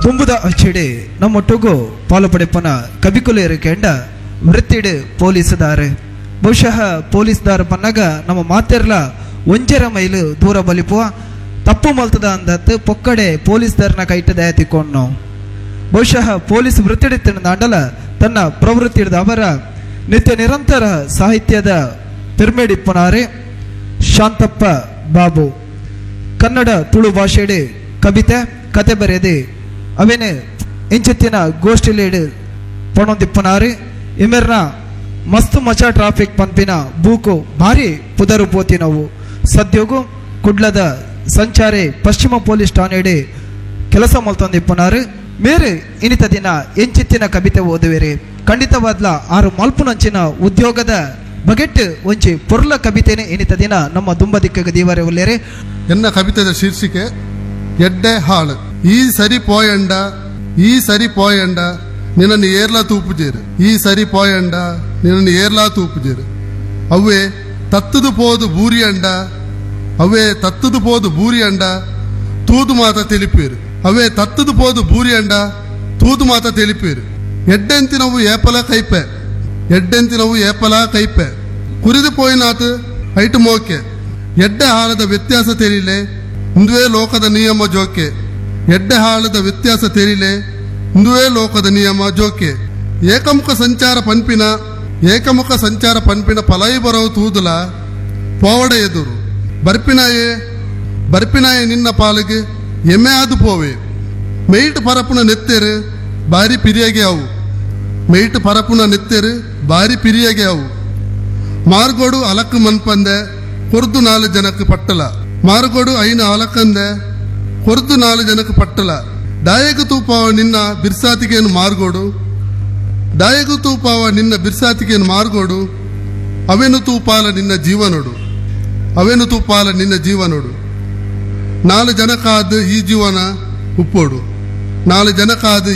ದುಂಬುದ ಅಚ್ಚಿಡೆ ನಮ್ಮೊಟ್ಟುಗು ಪಾಲು ಪಡೆಪನ ಕಬಿಕುಲೇರು ಕೆಂಡ ವೃತ್ತಿಡು ಪೊಲೀಸುದಾರೆ. ಬಹುಶಃ ಪೊಲೀಸ್ದಾರ ಪನ್ನಗ ನಮ್ಮ ಮಾತೆರ್ಲ ಒಂಜರ ಮೈಲು ದೂರ ಬಲಿಪುವ ತಪ್ಪು ಮಲ್ತದ ಅಂದತ್ತು ಪೊಕ್ಕಡೆ ಪೊಲೀಸ್ದಾರನ ಕೈಟ ದಯ ತಿಕ್ಕೊಂಡು. ಬಹುಶಃ ಪೊಲೀಸ್ ವೃತ್ತಿಡಿತ್ತಿನ ತನ್ನ ಪ್ರವೃತ್ತಿ ಅವರ ನಿತ್ಯ ನಿರಂತರ ಸಾಹಿತ್ಯದ ಪೆರ್ಮೆಡಿಪ್ಪನಾರೆ ಶಾಂತಪ್ಪ ಬಾಬು. ಕನ್ನಡ ತುಳು ಭಾಷೆಡೆ ಕವಿತೆ ಕತೆ ಬರೆದೆ ಅವೇನೆ ಇಂಚಿತ್ತಿನ ಗೋಷ್ಠಿಲೇಡು ಪಣೊಂದಿಪ್ಪನಾರೆ. ಇಮೆರ್ನ ಮಸ್ತ್ ಮಚಾ ಟ್ರಾಫಿಕ್ ಪಂಪಿನ ಬೂಕು ಭಾರಿ ಪುದರು ಪೋತಿನವು. ಸದ್ಯೋಗು ಕುಡ್ಲದ ಸಂಚಾರಿ ಪಶ್ಚಿಮ ಪೊಲೀಸ್ ಠಾಣೆಡೆ ಕೆಲಸ ಮಲ್ತೊಂದಿಪ್ಪನಾರು. ಮೇರೆ ಇನಿತ ದಿನ ಎಂಚಿತ್ತಿನ ಕವಿತೆ ಓದುವೆರೆ ಖಂಡಿತವಾದ್ಲ ಆರು ಮಲ್ಪುನಂಚಿನ ಉದ್ಯೋಗದ ಬಗೆಟ್ ಒಂಜಿ ಪೊರ್ಲ ಕವಿತೆನೆ ಇನಿತ ದಿನ ನಮ್ಮ ದುಂಬದಿಕ್ಕ ದೀವರೆ ಉಲ್ಲೇರೆ. ಎನ್ನ ಕವಿತೆದ ಶೀರ್ಷಿಕೆ ಎಡ್ಡೆ ಹಾಳು. ಈ ಸರಿ ಪೋಯಂಡ, ಈ ಸರಿ ಪೋಯಂಡ ನಿನ್ನನ್ನು ಏರ್ಲಾ ತೂಪುಜೇರು, ಈ ಸರಿ ಪೋಯಂಡ ನಿನ್ನನ್ನು ಏರ್ಲಾ ತೂಪುಜೇರು. ಅವ್ವೇ ತತ್ತದು ಪೋದು ಬೂರಿಯಂಡ, ಅವ್ವೇ ತತ್ತದು ಪೋದು ಬೂರಿಯಂಡ ತೂದು ಮಾತ ತಿಳಿಪೇರು, ಅವೇ ತತ್ತದು ಪೋದು ಬೂರಿಯಂಡ ತೂದು ಮಾತ ತಿಳಿಪೇರು. ಎಡ್ಡೆಂತಿನವು ಏಪಲ ಕೈಪೆ, ಎಡ್ಡೆಂತಿನವು ಏಪಲ ಕೈಪೆ, ಕುರಿದು ಪೋಯಿನಾತು ಐಟು ಮೋಕೆ. ಎಡ್ಡೆ ಹಾಳದ ವ್ಯತ್ಯಾಸ ತೆರಿಲೆ ಇಂದುವೇ ಲೋಕದ ನಿಯಮ ಜೋಕೆ, ಎಡ್ಡೆ ಹಾಳದ ವ್ಯತ್ಯಾಸ ತೆರಿಲೆ ಇಂದುವೇ ಲೋಕದ ನಿಯಮ ಜೋಕೆ. ಏಕಮುಖ ಸಂಚಾರ ಪನ್ಪಿನ, ಏಕಮುಖ ಸಂಚಾರ ಪನ್ಪಿನ ಪಲಾಯಿ ಬರವು ತೂದುಲ ಪೋವಡ ಎದುರು. ಬರ್ಪಿನಾಯೇ ಬರ್ಪಿನಾಯೇ ನಿನ್ನ ಪಾಲಿಗೆ ಎಮ್ಮೆ ಆದು ಪೋವೆ. ಮೇಯ್ಟ್ ಪರಪುನ ನೆತ್ತೆರು ಬಾರಿ ಪಿರಿಯಗೆ ಅವು, ಮೇಯ್ಟ್ ಪರಪುನ ನೆತ್ತೆರು ಬಾರಿ ಪಿರಿಯಗೆ ಅವು. ಮಾರ್ಗೋಡು ಅಲಕ್ಕು ಮನ್ಪಂದೆ ಕೊರ್ದು ನಾಲು ಜನಕ್ಕೆ ಪಟ್ಟಲ, ಮಾರ್ಗೋಡು ಐನ ಅಲಕ್ಕಂದೆ ಕೊರ್ದು ನಾಲು ಜನಕ್ಕೆ ಪಟ್ಟಲ. ದಾಯಕ ತೂಪಾವ ನಿನ್ನ ಬಿರ್ಸಾತಿಗೆಯನ್ನು ಮಾರ್ಗೋಡು, ದಾಯಕ ತೂಪಾವ ನಿನ್ನ ಬಿರ್ಸಾತಿಗೆಯನ್ನು ಮಾರ್ಗೋಡು. ಅವೇನು ತೂಪಾಲ ನಿನ್ನ ಜೀವನೋಡು, ಅವೇನು ತೂಪಾಲ ನಿನ್ನ ಜೀವನೋಡು. ನಾಲು ಜನಕ್ಕಾದ ಈ ಜೀವನ ಉಪ್ಪೋಡು, ನಾಲು ಜನಕ್ಕಾದ.